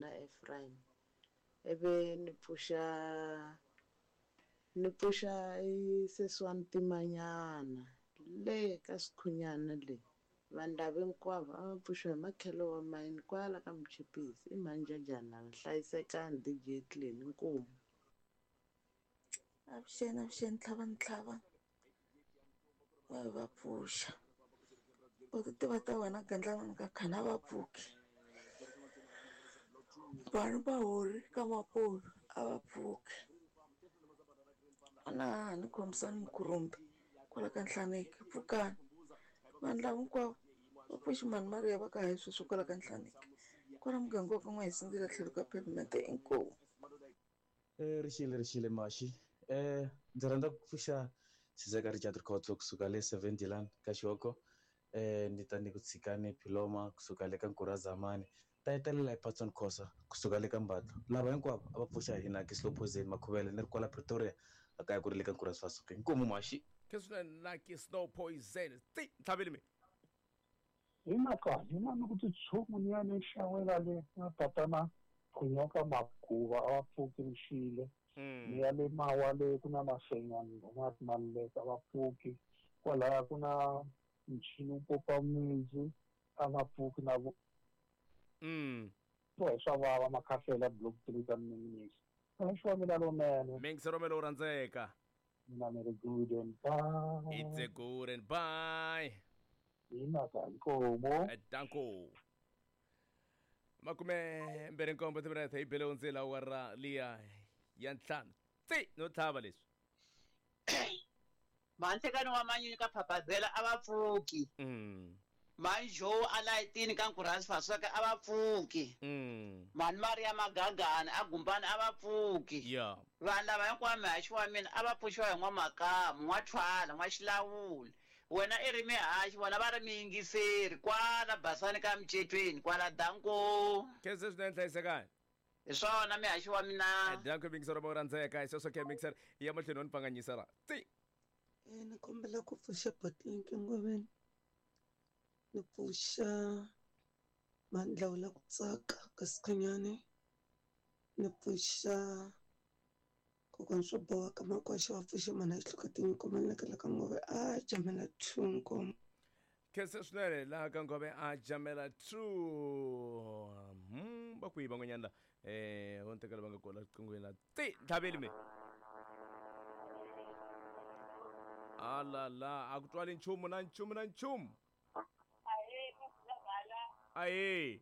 Na Efrayimi, ivi ni pfuxa ni pfuxa i sesi wa ntimanyana le ka Sikhunyana le. Vanhu lava hinkwavo a va pfuxiwa hi makhelo wa mayini kwala ka Muchipisi. I mhani Jajani lava, hlayisekani DJ Cleni, inkomu. Avuxeni avuxeni tlhava ni tlhava va va pfuxa u ti tiva ta wena gandlana ka khana va pfuki vanhu va hori ka mapolo a va pfuki a na ni khomisani mukhurumbi kwala ka Nhlaneki pfukani vanhu lava hinkwavo va pfuxi mhani Mariya va ka hi sweswi kwala ka Nhlaneki kwala muganga wa ka N'wahisindzile tlhelo ka pavement inkomu. Rixile rixile maxi ndzi rhandza ku pfuxa Sizeka Richard Rikhotso kusuka le Seven Dilan ka Xihoko ni ta ni ku tshikani Philoma kusuka le ka Nkurha Zamani ta hetelela hi Patson Khosa kusuka le ka Mbatlo lava hinkwavo a va pfuxa hi Naki Slow Poison Makhuvele ni ri kwala Pretoria a kaya ku ri le ka Nkurha Sifasuke inkomu maxi. Khe swinene Naki Slow Poison ti ntlhaveli mi. Hi mhaka hina ni ku titshungu ni ya ni xawela le na tatana Phunyoka Maguva a va pfuki rixile ni ya le mawa le ku na mafenyani nga ri maluleka a va pfuki kwalaya ku na michini wu popa mundzu a va pfuki na vo hi swa vava makhahlela block 3 ka minisi xo mina lonene Mingisero me lowu rhandzeka. Mina ni ri good and bye. It's a good and bye. Hina ka nkomo. Danko. 27 timinete hi bele hundzela awara liya ya 5. Tsi no tlhava leswi. Manhlekani wa manyunyu ka Phaphazela a va pfuki. Mhani Joe a layitini ka Nkurhasi Fasweke a va pfuki. Mhani Maria Magagani a Gumbani a va pfuki. Vanhu lava hinkwavo mihaxi wa mina a va pfuxiwa hi N'wamakamu, N'wathwala, N'waxilawula. Wena i ri mihaxi, vona va ri miyingiseri kwala Basani ka Micetweni kwala Danko. Khensa swinene hlayisekani. Hi swona mihaxi wa mina. Danko miyingiseri wa rhandzeka. Hi sweswo ke miyingiseri ya mahlweni wa ni pfanganyisa la. Tsi. Ni kombela ku pfuxa Botlinki Ngoveni. Ni pfuxa Mandlawula ku tsaka ka Sikhunyani. Ni pfuxa kokwana swo boha ka Makwasha va pfuxe mhana xihluka tinyiko manekela ka Ngove a jamela 2 nkomo. Khensa swinene laha ka Ngove a jamela 2. Va kwihi van'wanyana la? Vo ni tekela va nga kona riqinghweni la. Ti ntlhaveli mi. Alala a ku twali nchumu na nchumu na nchumu. Ahee.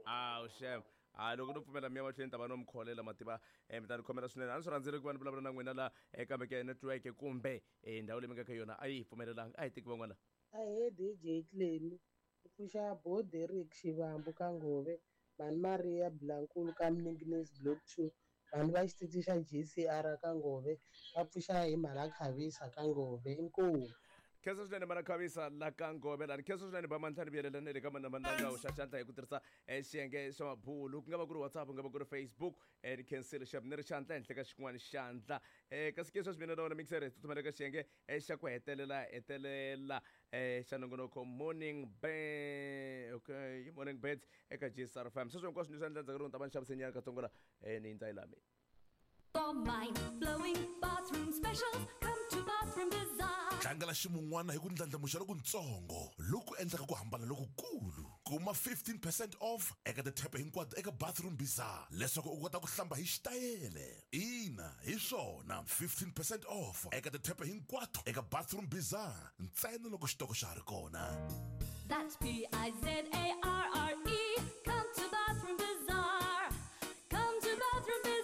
Awu xem. A loko no pfumela miya mahlweni ta va no mi kholela mativa mi ta ni khomela swinene. A ni swi rhandzile ku va ni vulavula na n'wina la kambe ke network kumbe ndhawu leyi mi nga ka yona a yi hi pfumelelanga. A hi teki van'wana. Ahee DJ Cleni. Ku pfuxa Bo Derek Xivambu ka Ngove, Mhani Maria Blankulu ka Mninginisi Block 2, vanhu va xitichi xa GCR ka Ngove va pfuxa hi Mhala Khavisa ka Ngove. Inkomu. Khensa swinene Mhala Khavisa la ka Ngove lani. Khensa swinene ba mantlhanu vuyelela na le ka mana mananga u xa xandla hi ku tirhisa xiyenge xa mabulu ku nga va ku ri WhatsApp ku nga va ku ri Facebook ni khensile xap ni ri xandla henhla ka xin'wana xandla kasi ke sweswi mina na wena mixer hi tsutsumela ka xiyenge xa ku hetelela hetelela xa nongonoko morning be okay morning birds eka GSR FM sweswo hinkwaswo ni swi endla ndzhaku loko ni ta va ni xavisenyana katsongo la ni yindza yi la mina. For mind-blowing bathroom specials, come to Bathroom Bazaar. Tlangela ximun'wana hi ku ndlandlamuxa lokuntsongo loku endlaka ku hambana lokukulu. Kuma 15 percent off eka tithepe hinkwato eka Bathroom Bazaar leswaku u kota ku hlamba hi xitayele. Ina, hi swona, 15 percent off eka tithepe hinkwato eka Bathroom Bazaar ntsena loko xitoko xa ha ri kona. That's P-I-Z-A-R-R-E. Come to Bathroom Bazaar. Come to Bathroom Bazaar.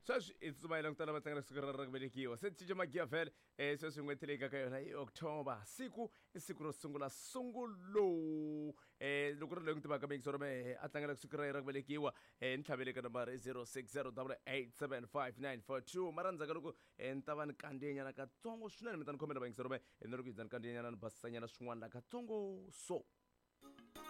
Sweswi i tsutsuma hi langutana va tlangela siku ra ra ku velekiwa se cinca magiya vhele sweswi n'hweti leyi nga ka yona i October siku i siku ro sungula sungulo loko ri loyi n'wi tivaka mixo ro mehe a tlangela siku ra yena ra ku velekiwa ni tlhavele ka nambara i 0608875942 mara ndzhaku ka loko ni ta va ni kandziyenyana katsongo swinene mi ta ni khomela vayingiseri mehe ni ri ku hindza ni kandziyanyana ni basisanyana swin'wana la katsongo so.